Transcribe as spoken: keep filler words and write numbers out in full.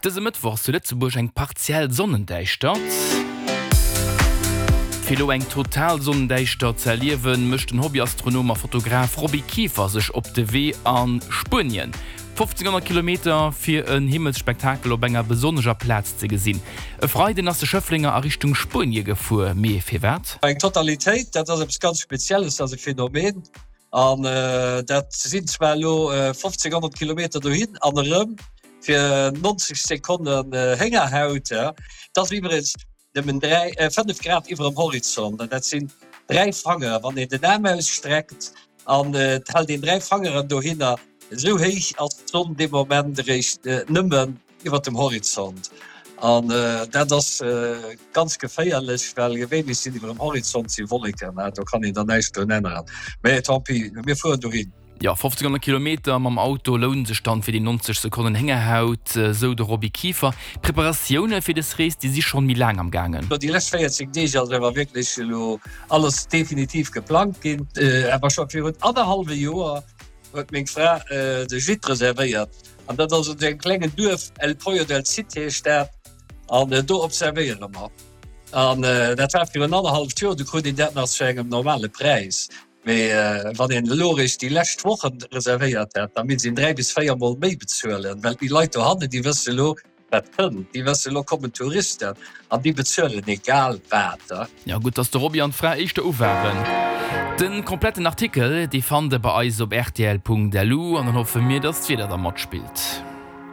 Dëse Mëttwoch ass zu Lëtzebuerg eng partiell Sonnendäischtert. Fir elo eng total Sonnendäischtert ze erliewen, mécht den Hobbyastronom a Fotograf Roby Kieffer sech op de Wee a Spuenien. fofzeghonnert Kilometer fir en Himmelsspektakel op enger besonnescher Plaz ze gesinn. E Freiden ass de Schëfflenger a Richtung Spuenie gefuer. Mee firwat? Eng Totalitéit, dat ass eppes ganz Spezielles, dat ass e Phänomen. An dat sinn zwar elo fofzeghonnert Kilometer dohin an erëm fir nonzeg Sekonnen Héngerhaut. Dat ass iwwregens nëmmen dräi, fënnef Grad iwwer dem Horizont. An dat sinn dräi Fanger, wann een den Aarm ausstreckt an et hält een dräi Fangeren dohinner, esou héich ass d'Sonn dee Moment eréischt nëmmen iwwer dem Horizont. An dat ass ganz geféierlech, well gewéinlech sinn iwwer dem Horizont si Wolleken, do kann een dann näischt drun änneren. Mä tant pis, mir fueren dohin. Jo, fofzeghonnert Kilometer mam Auto lounen sech dann fir déi nonzeg Sekonnen Héngerhaut, sou de Roby Kieffer. D'Preparatioune fir dës Rees, déi si schonn méi laang am gaangen. Déi lescht véierzéng Deeg ass awer wierklech elo alles definitiv geplangt ginn. Awer scho virun annerhallwe Joer huet meng Fra de Gîte reservéiert an dat ass an engem klengen Duerf, El Poyo del Cid heescht dat, an do observéiere mer. An dat war virun annerhalleft Joer, du krut een dat nach zu engem normale Präis. Mee wann een elo eréischt déi lescht Wochen reservéiert hätt, da misst een dräi bis véier Mol méi bezuelen, well déi Leit dohannen, déi wësse elo, wat kënnt. Déi wëssen, elo kommen Touristen an déi bezuelen egal wat. Jo, gutt, dass de Roby an d'Fra éischter u waren. De kompletten Artikel, dee fannt der bei eis op rtl.lu an dann hoffe mir, dass d'Wieder da matspillt.